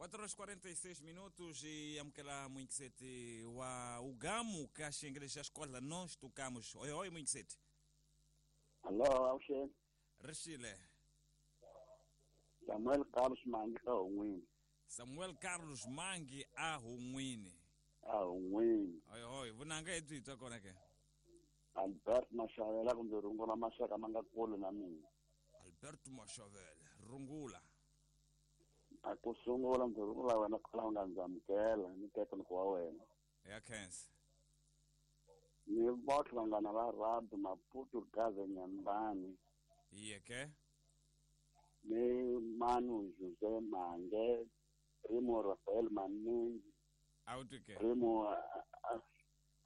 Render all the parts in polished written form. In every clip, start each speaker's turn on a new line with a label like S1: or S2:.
S1: 4 horas 46 minutos e amukela muingiseti wa ugamu ka xiyengele xa xikolo nós tocamos. Oi oi muingiseti.
S2: Alô, avuxeni.
S1: Rixile.
S2: Samuel Carlos Mangi a Hungwini.
S1: Samuel Carlos Mangi a Hungwini.
S2: A Hungwini.
S1: Oi oi, vunanga hi byi twa kona ke?
S2: Albert Mashavela kumbe rungula maxaka ma nga kule na mina.
S1: Alberto Mashavela, rungula.
S2: A ku sungula ndzi rungula wena kwala u nga ndzi amukela ni teka wa wena.
S1: Ya khensa.
S2: Ni votlhe vanghana va Rado Maputo Gaza Nyambani.
S1: Iye ke?
S2: Ni Manu Jose Mange, Primo Rafael Maningi.
S1: Awuti ke?
S2: Primo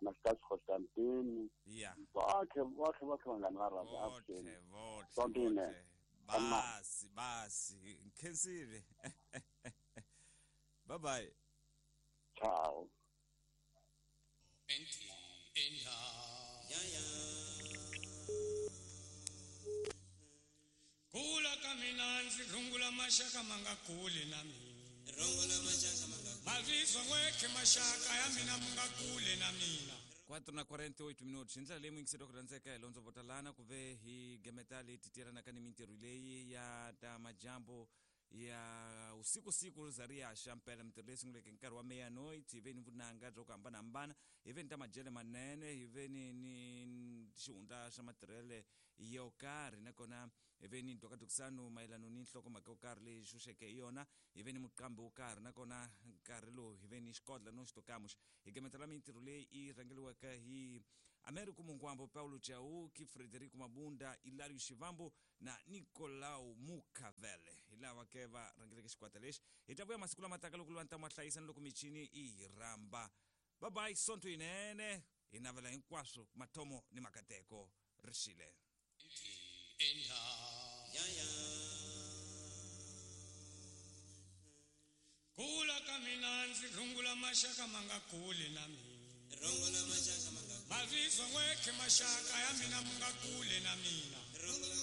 S2: Anastasio Constantini.
S1: Ya.
S2: Votlhe votlhe votlhe vanghana va Rado.
S1: Votlhe votlhe votlhe. Basi basi, nkhensile. Bye bye.
S2: Ciao.
S3: Kula ka mina ndzi rungula maxaka ma nga kuli na mina.
S4: Rungula maxaka ma nga
S3: Mavizwa n'wekhe maxaka ya mina ma nga kuli na mina.
S1: 4:48 minutos. Hi ndlela leyi muyingiseri wa ku rhandzeka hi londzo votalana ku ve hi gemeta leyi titelanaka ni mintirho leyi ya ta majambu ya usiku siku za ri ya xa mpela mintirho leyi sunguleke hi nkarhi wa meia-noite hi ve ni vunanga bya ku hambanahambana hi ve ni ta madyele manene hi ve ni ni xihundla xa matirhele yo karhi nakona hi ve ni ndhokadokisano mayelano ni nhlokomhaka yo karhi leyi xuxeke hi yona hi ve ni muqambi wo karhi nakona nkarhi lowu hi ve ni xikodla no xitokamuxa hi gemetela mintirho leyi yi rhangeliweke hi Americo Mungwambo, Paulo Chauki, Frederico Mabunda, Ilario Xivambo na Nicolau Mukavele. Hi lava ke va rhangeleke xikwata lexi. Hi ta vuya masiku lama taka loko lwa ntamu wa hlayisa ni loko michini yi hi rhamba. Bye bye, sonto yinene. Hi navela hinkwaswo mathomo ni makateko. Rixile.
S3: Kula ka mina ndzi rungula maxaka ma nga kuli na mina.
S4: Rungula maxaka ma nga
S3: Mavizwa n'wekhe maxaka ya mina ma nga kuli na mina.
S4: Rungula